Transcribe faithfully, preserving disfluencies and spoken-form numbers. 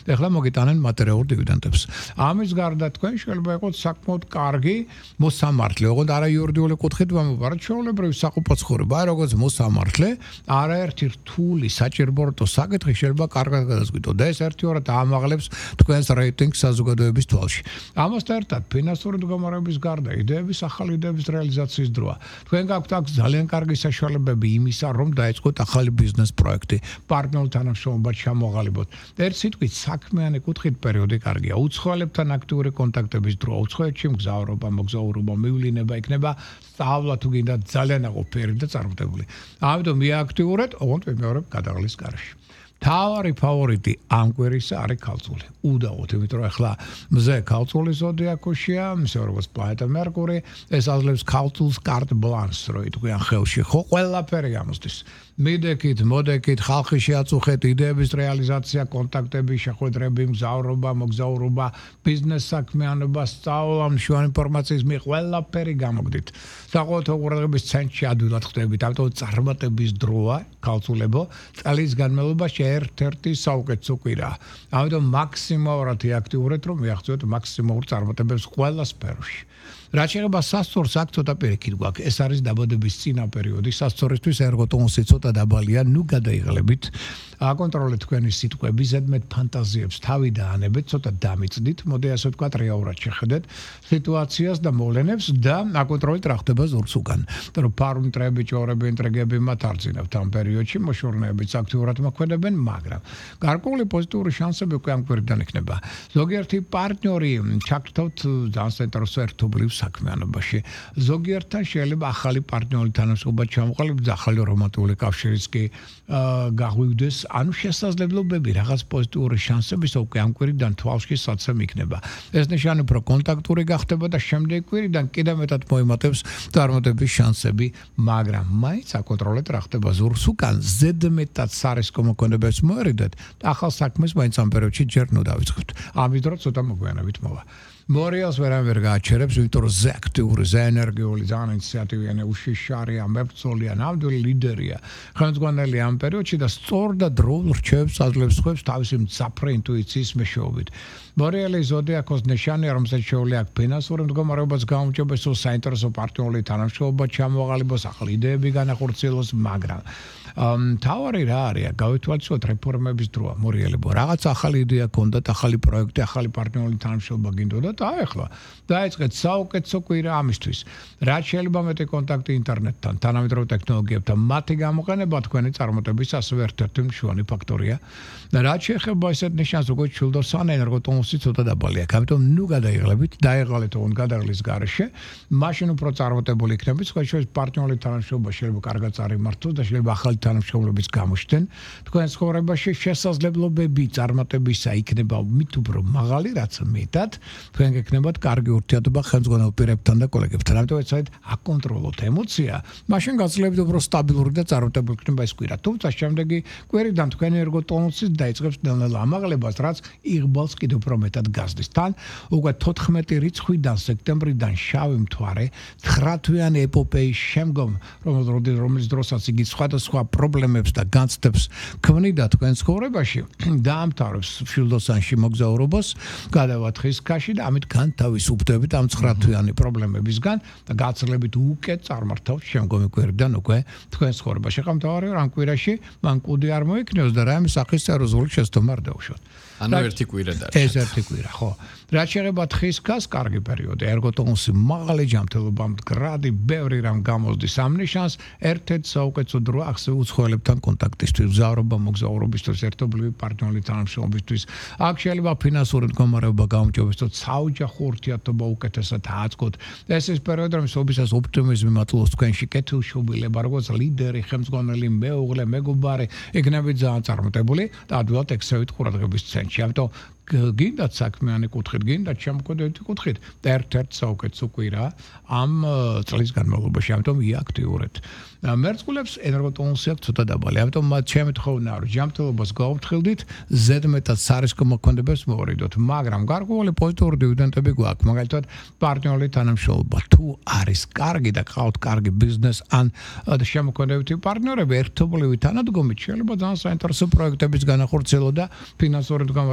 ეხლა მოგიტანენ მატერიალურ დივიდენდებს. ამის გარდა თქვენ შეიძლება იყოთ საკმაოდ კარგი მოსამართლე, ოღონდ არა იურიდიული კუთხით ვამბობ, ჩვეულებრივი საყოფაცხოვრება, აი როგორც მოსამართლე, არაერთი რთული საჭიროებო საკითხი შეიძლება კარგად გადაზგვიტოთ და ეს ერთიორად ამაღლებს თქვენს რეიტინგს საზოგადოების თვალში. ამასთან ერთად ფინანსური მდგომარეობის გარდა იდეების ახალი იდეების რეალიზაციის დროა. თქვენ გაქვთ აქ ძალიან კარგი საშუალებები იმისა, რომ დაიწყოთ ახალი ბიზნეს პროექტი, პარტნიორულ თანამშრომლობას ჩამოაყალიბოთ. ერთ სიტყვით საქმიანი კუთხით პერიოდი კარგია. უცხოელებთან აქტიური კონტაქტების დრო, უცხოეთში მგზავრობა, მოგზაურობა, მივლინება იქნება სწავლა თუ გინდა ძალიან აყოფიერი და წარმატებული. ამიტომ მიაქტიურეთ, ოღონდ ვიმეორებ გადაღლის გარეშე. თავარი ფავორიტი ამ კვირისა არის ქალწული. უდაოდ, იმიტომ რომ ახლა მზე ქალწული ზოდიაქოშია, მზე როგორც პლანეტა მერკური, ეს აძლევს ქალწულს კარტ ბლანს, რო იტყვიან ხელში, ხო, ყველაფერი გამოსდის. მიდექით, მოდექით, ხალხი შეაწუხეთ, იდეების რეალიზაცია, კონტაქტები, შეხვედრები, მგზავრობა, მოგზაურობა, ბიზნეს საქმიანობა, სწავლა, მშვენი ინფორმაციის მიღება, ყველაფერი გამოგდით. საყოველთაო ყურადღების ცენტრში ადვილად ხდებით, ამიტომ წარმატების დროა ქალწულებო, წლის განმავლობაში ერთ-ერთი საუკეთესო კვირაა. ამიტომ მაქსიმალურად აქტიურეთ, რომ მიაღწიოთ მაქსიმალურ წარმატებებს ყველა სფეროში. რაც შეეხება სასწორს, აქ ცოტა პირიქით გვაქვს. ეს არის დაბადების წინა პერიოდი, სასწორისთვის ერგოტონუსი ცოტა დაბალია, ნუ გადაიღალებით. აკონტროლეთ თქვენი სიტყვები, ზედმეტ ფანტაზიებს თავი დაანებეთ, ცოტა დამიწდით, მოდი ასე ვთქვათ, რეალურად შეხედეთ სიტუაციას და მოვლენებს და აკონტროლეთ რა ხდება ზურგს უკან. რომ ფარმტრები, ჭორები, ინტრიგები მათ არ ძინავთ ამ პერიოდში, მოშორნეებიც აქტიურად მოქმედებენ, მაგრამ გარკვეული პოზიტიური შანსები უკვე ამ კვირიდან იქნება. ზოგიერთი პარტნიორი ჩაგრთავთ ძალიან საინტერესო ერთობლივ საქმიანობაში. ზოგიერთთან შეიძლება ახალი პარტნიორი თანამშრომლობა ჩამოყალიბდეს, ახალი რომანტიკული კავშირიც კი გაღვივდეს. ანუ შესაძლებლობები, რაღაც პოზიტიური შანსები უკვე ამ კვირიდან თვალში საცემ იქნება. ეს ნიშანი უფრო კონტაქტური გახდება და შემდეგ კვირიდან კიდევ მეტად მოიმატებს წარმატების შანსები, მაგრამ მაინც აკონტროლეთ რა ხდება ზურგს უკან, ზედმეტად სარისკო მოქმედებებს მოერიდეთ, ახალ საქმეს მაინც ამ პერიოდში ჯერ ნუ დავიწყებთ. ამის დროს ცოტა მოგვიანებით მოვა. მორიალს ვერან ვერ გააჩერებს, იმიტომ რომ ზე აქტიური, ზე ენერგიული, ძალიან ინიციატივიანი, უშიშარია, მებრძოლია, ნამდვილი ლიდერია. ხელმძღვანელი ამ პერიოდში და სწორ და დროულ რჩევებს აძლევს სხვებს თავისი მძაფრ ინტუიციის მეშვეობით. მორიალი ზოდიაქოს ნიშანია, რომელსაც შეუძლია აქ ფინანსური მდგომარეობას გაუმჯობესო, საინტერესო პარტნიორული თანამშრომლობა ჩამოაყალიბოს, ახალი იდეები განახორციელოს, მაგრამ თავარი რა არის? გავითვალისწინოთ რეფორმების დროა, მორიალებო. რაღაც ახალი იდეა გქონდათ, ახალი პროექტი, ახალი პარტნიორული თანამშრომლობა გინდოდათ, აეხლა დაიწყეთ საუკეთესო კვირა ამისთვის. რაც შეიძლება მეტი კონტაქტი ინტერნეტთან, თანამედროვე ტექნოლოგიებთან, მათი გამოყენება თქვენი წარმატების ასევე ერთ-ერთი მშვენი ფაქტორია. რაც შეეხება ესეთ ნიშანს, როგორც ჩილდოსან ენერგოტონუსი ცოტა დაბალია. ამიტომ ნუ გადაიღლებით, დაეღალეთ ოღონდ გადაღლის გარეშე, მაშინ უფრო წარმატებული იქნებით, სხვა შორის პარტნიორული თანამშრომლობა შეიძლება კარგად წარიმართოს და შეიძლება ახალი თანამშრომლობის გამოჩნდნენ. თქვენ ცხოვრებაში შესაძლებლობები წარმატებისა იქნება მით უფრო მაღალი, რაც მეტად თქვენ გეკნებათ კარგი ურთიერთობა ხელმძღვანელ პირებთან და კოლეგებთან. ამიტომ ეცადეთ აკონტროლოთ ემოცია, მაშინ გაძლევთ უფრო სტაბილური და წარმატებული იქნება ეს კვირა. თუმცა შემდეგი კვირიდან თქვენი ერგოტონუსი დაიწყებს ნელ-ნელა ამაღლებას, რაც იღბალს კიდევ უფრო მეტად გაზრდის. თან უკვე თოთხმეტი რიცხვიდან სექტემბრიდან შავი მთვარე, ცხრა თვიანი ეპოპეის შემდგომ, რომელიც დროსაც იგი სხვადასხვა პრობლემებს და განცდებს ქმნიდა თქვენ ცხოვრებაში, დაამთავრებს შილდოსანში მოგზაურობას, გადავათ ხისქაში და ამით განთავისუფლდებით ამ ცხრა თვიანი პრობლემებისგან და გაცილებით უკეთ წარმართავთ შემდგომი კვირიდან უკვე თქვენ ცხოვრებაში. ხა მთავარი ამ კვირაში მან კუდი არ მოიქნიოს და რაიმე სახის სერიოზული შეცდომა არ დაუშვათ. ანუ ერთი კვირა დარჩა. ეს ერთი კვირა, ხო. რაც შეეხება თხისქას, კარგი პერიოდი, ერგოტონუსი მაღალი ჯანმრთელობა, მდგრადი, ბევრი რამ გამოსდის ამ ნიშანს, ერთ-ერთი საუკეთესო დროა ახსოვ უცხოელებთან კონტაქტისთვის, მგზავრობა, მოგზაურობისთვის, ერთობლივი პარტნიორული თანამშრომლობისთვის. აქ შეიძლება ფინანსური მდგომარეობა გაუმჯობესოთ, საოჯახო ურთიერთობა უკეთესად აწყოთ. ეს ის პერიოდი, რომ სოფისას ოპტიმიზმი მატლობს თქვენში, კეთილშობილება, როგორც ლიდერი, ხელმძღვანელი, მეუღლე, მეგობარი, იქნებით ძალიან წარმატებული და ადვილად ექცევით ყურადღების ცენტრში. ამიტომ გინდათ საქმიანი კუთხით, გინდათ შემოქმედებითი კუთხით, ერთ-ერთ საუკეთესო კვირა ამ წლის განმავლობაში, ამიტომ იაქტიურეთ. მერწყულებს ენერგოტონუსი აქვს ცოტა დაბალი, ამიტომ მათ შემეთხოვნა რომ ჯანმრთელობას გაუფრთხილდით, ზედმეტად სარისკო მოქმედებებს მოვარიდოთ, მაგრამ გარკვეული პოზიტიური დივიდენდები გვაქვს, მაგალითად პარტნიორული თანამშრომლობა. თუ არის კარგი და ყავთ კარგი ბიზნეს ან შემოქმედებითი პარტნიორები, ერთობლივი თანადგომით შეიძლება ძალიან საინტერესო პროექტების განახორციელო და ფინანსური მდგომარეობა